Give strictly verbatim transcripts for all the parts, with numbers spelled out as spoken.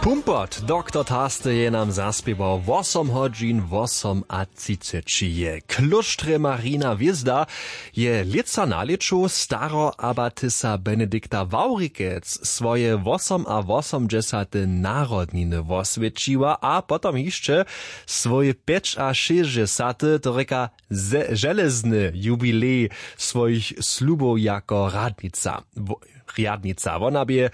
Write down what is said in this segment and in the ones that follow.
Pumpot doktor Taste je nam zaspěwał wosom hodźin wosom a třiceći je klóštrje Marina hwězda. Je lětsa na lěću staro abatysa Benedikta Wawrikec swoje wosom a wosomdźesate narodniny woswětšiła a potom hišće swój pjeć a šěsćdźesaty, to rěka železny jubilej swójich slubow jako radnica. Rjadnica wona bě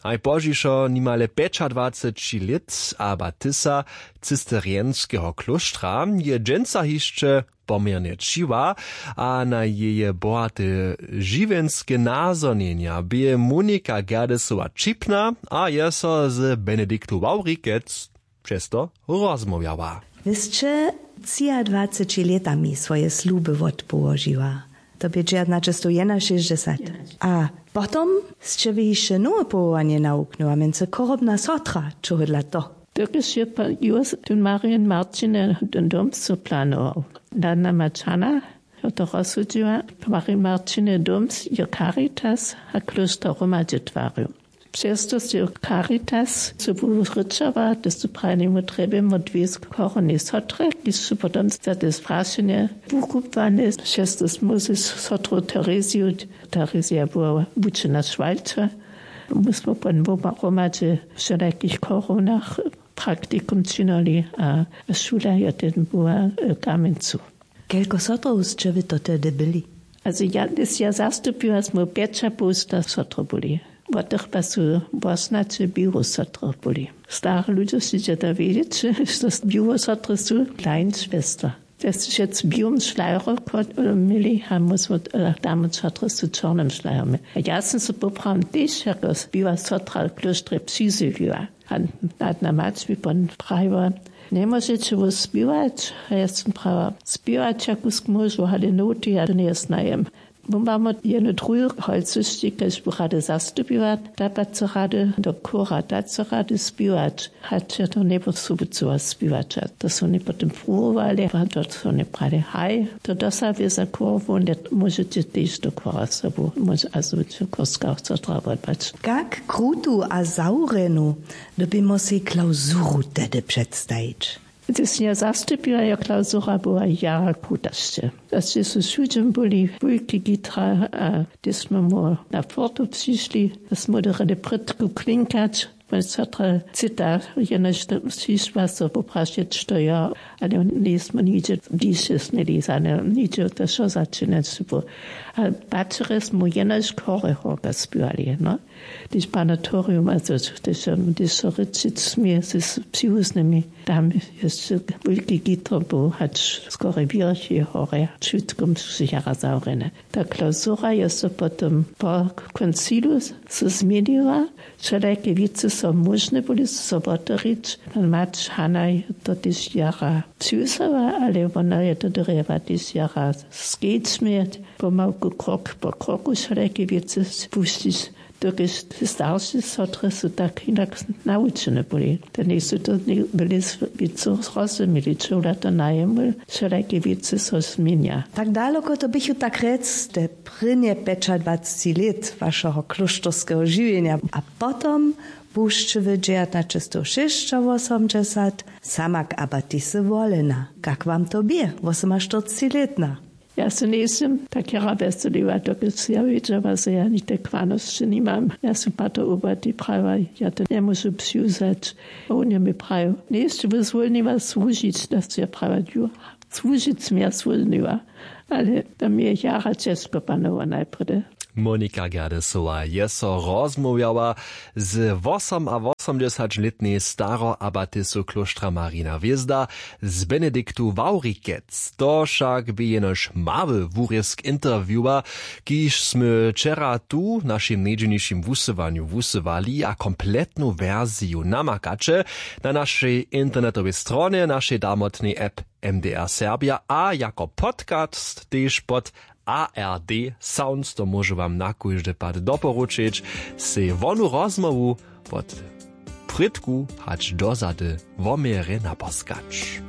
najpozdźišo nimale pjećadwaceći lět abatysa cisterjenskeho klóštra, je dźensa hišće poměrnje ćiła a na jeje bohate žiwjenske nazhonjenja bě Monika Gerdesowa ćipna a je so z Benediktu Wawrikec přez to rozmołwjała. Wy sće třiadwaceći lětami swoje sluby wotpołožiła. To bě dźejaćnaćestowjenašěsćdźesat. A potom sće wy hišće nowe powołanje nawuknyła, mjency chorobna sotra, čehodla to? Dokelž je pa jus tón Marjen Marćine dom so planował, da nama čana to rozsudźiła, Marjen Marćine dom je Caritas a klóšter hromadźe twarił. Přez to sće Caritas so wurěčała, to su prajnemu trjebjemu dwě chorobnej sotre, kiž su potom za te strašenje wukubłane. Přez to móžeš sotru Tereziju, Terezija była wučena šwalča. My smo pon woma hromadźe w wšelakich chorownach praktikum činili a šula je ten była w Kamjencu. Kelko sotrow sće wy to tehdy byli? Also ja, ja zastupiła, smo pjećapołsta sotry byli. Wot tych pa su wosnaće białe sotry byli. Stare ludźe sće da wědźeć, što białe sotry su kleinschwester. To je wšec w białym šlajru měli a my smo, damy sotry su w čornym šlajru měli. A ja sym so poprawom tež jako biała sotra w klóštrje přizjewiła. A nadna mać mi pon prajiła: Njemóžeće wój spěwać? A ja sym prajiła: Spěwać ja kusk móžu, ale noty ja to njesnajem. Wón mamy jednu druhu holcyšći, kaž bu rady zastupiła, da pa co rady do chóra, da co rady spěwać. Hač ja to njebósubucyła spěwać. A to su woni potom pruwowali a to su woni prali: Haj, to dosa wěza chór, wón je, móžeće tež do chóra sobu móž a zwyču chórska sotra wotbać. Kak krutu a zawrjenu dyrbimy sej klausuru tehdy předstajić? Hdyž sym ja zastupiła, jo, klausura była jara kruta sće. Hdyž su wšudźe byli wulki gitra a hdyž smy mu na fortu přišli, da smy dyrjeli prědku klinkać. Mój sotra cyta, jenož přišła so poprašeć, što jo, ale njejsmy nihdźe bližše směli za nje, nihdźe to wšo začinać. A pačerje smy jenož chóre chórka spěwali, no. Hdyž panatorium, also hdyž so rěčić smě z přiwuznymi, tam je wulki gitro był, hač skóre wěrchi chóre, wšitko su jara zawrjene. Ta klausura je so potom po koncilu so změniła. Wšelake wěcy so móžne byli so wotewrić. Mać Hanaj to tež jara přiwzała, ale wona je to dyrjała tež jara skedź měć, pomałku krok po kroku wšelake wěcy pušćić, dokelž te starše sotry su tak hinak nawučene byli. Te njejsu to byli wěcy zrozumili, čehodla to najemu wšelake wěcy so změnja. Tak daloko to běchu tak rjec te prěnje pjećadwaceći lět wašeho klóšterskeho žiwjenja a potom bušće wy dźejaćnaćestowšěsćawosomdźesat samak abatisy wolena. Kak wam to bě, wosomaštyrcećilětna? Ja se njejsym tak jara wjeseliła, dokelž ja wědźała, zo ja nichte kwanosće nimam. Ja sym pater ubati prajiła, ja to njemóžu přiwzać. A wón je mi prajił: Njejsće wy zwólniła słužić? Da sym ja prajiła: Ju, słužić sym ja zwólniła, ale to mi je jara ćežko panował najprjedy. Monika Gerdesowa je so rozmołwjała z wosom a wosomdźesaćlětnej staroabatisu klóštra Marina Hwězda, z Benediktu Wawrikec. To wšak bě jenož mały wurězk interviewa, kiž smy wčera tu w našim njedźelnišim wusyłanju wusyłali, a kompletnu wersiju namakaće na našej internetowej stronje, našej damotnej app M D R Serbja a jako podcast tež pod A R D Sounds. To móžu wam na kóždy pad doporučić, sej wonu rozmołwu wot prědku hač dozady woměrje naposkać.